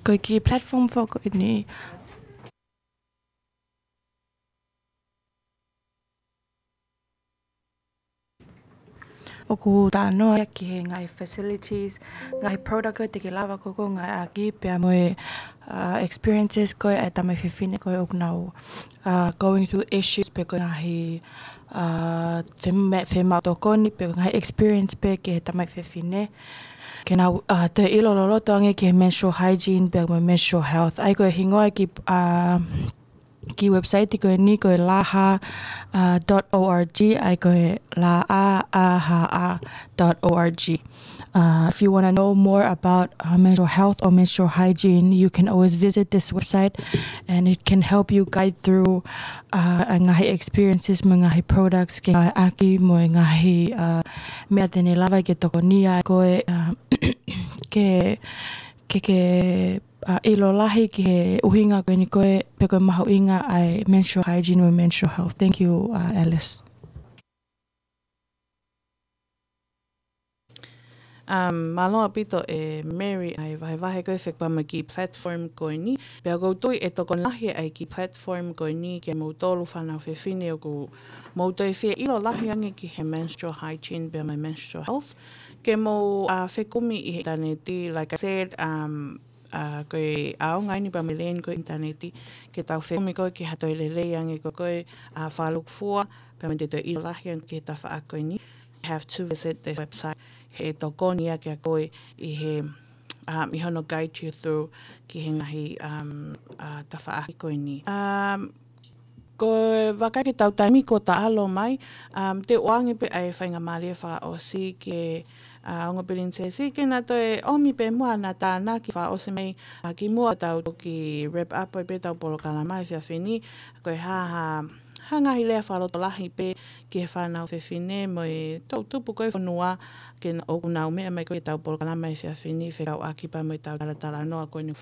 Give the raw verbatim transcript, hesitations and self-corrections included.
Ko e kiʻi platform foʻou ko eni ʻoku talanoa ia ki he ngaahi facilities, ngaahi product ko ē te ke lava ko ē ʻo ngāueʻaki pea mo e, uh, experiences ko ē ʻa e tamaiki fefine ko ē ʻoku nau, uh, going through issues pe ko e ngaahi, uh, fema-, femau tokoni pe ko e ngaahi experience pē ki he tamaiki fefine. Ke nau, uh, toe ʻilo loloto ange ki he menstrual hygiene pea mo e menstrual health. ʻA ia ko e hingoa ki, uh, kiʻi website ko eni ko e laha, uh, dot org, ʻa ia ko e la a a h a dot org. Uh, if you want to know more about, uh, menstrual health or menstrual hygiene, you can always visit this website and it can help you guide through, uh, ʻa e ngaahi experiences mo e ngaahi products ke ngāueʻaki mo e ngaahi, uh, meʻa te ne lava ke tokonia ai koe, uh, ke, ke, ke uh, ʻilo lahi ki he ʻuhinga ko eni ko ē pe ko e mahuʻinga ʻa e menstrual hygiene mo e menstrual health. Thank you, uh, Alice. Um, mālō ʻaupito ʻe Mary ʻa e vahevahe ko ē fekauʻaki mo e kiʻi platform ko eni. Pea ʻoku ou tui ʻe tokoni lahi ʻa e kiʻi platform ko eni kiate kimoutolu fānau fefine ʻoku mou toe fie ʻilo lahi ange ki he menstrual hygiene pea mo e menstrual health. Ke mou, uh, fekumi ʻi he ʻinitaneti, like I said, um, uh, ko e ʻaonga eni pea mo e lēni ko ē ʻinitaneti, ke tau fekumi ko ē ki ha toe lelei ange ko ē, uh, fakalūkufua, pea mo e toe ʻilo lahi ange ki he tafaʻaki ko eni. Have to visit this website, he tokoni ia kiate koe ʻi he, um, ʻi hono guide you through ki he ngaahi, um, uh, tafaʻaki ko eni. Um, ko e vakai ki heʻetau taimi kuo taʻalo mai, um, te u ʻoange pē ʻa e faingamālie fakaʻosi ki he, uh, ongo pilinisesi ke na toe ʻomi pē muʻa ʻena tānaki fakaʻosi mai, uh, kimuʻa tau toki wrap up ai pē ʻetau polokalama he efiafi ni, ko e hā ha, ha ngaahi lea fakalotolahi pē ki he fānau fefine mo e toʻutupu ko ē fonua ke na, ʻoku nau meʻa mai ko ē ki heʻetau polokalama he efiafi ni fekauʻaki pea mo ʻetau talatalanoa ko eni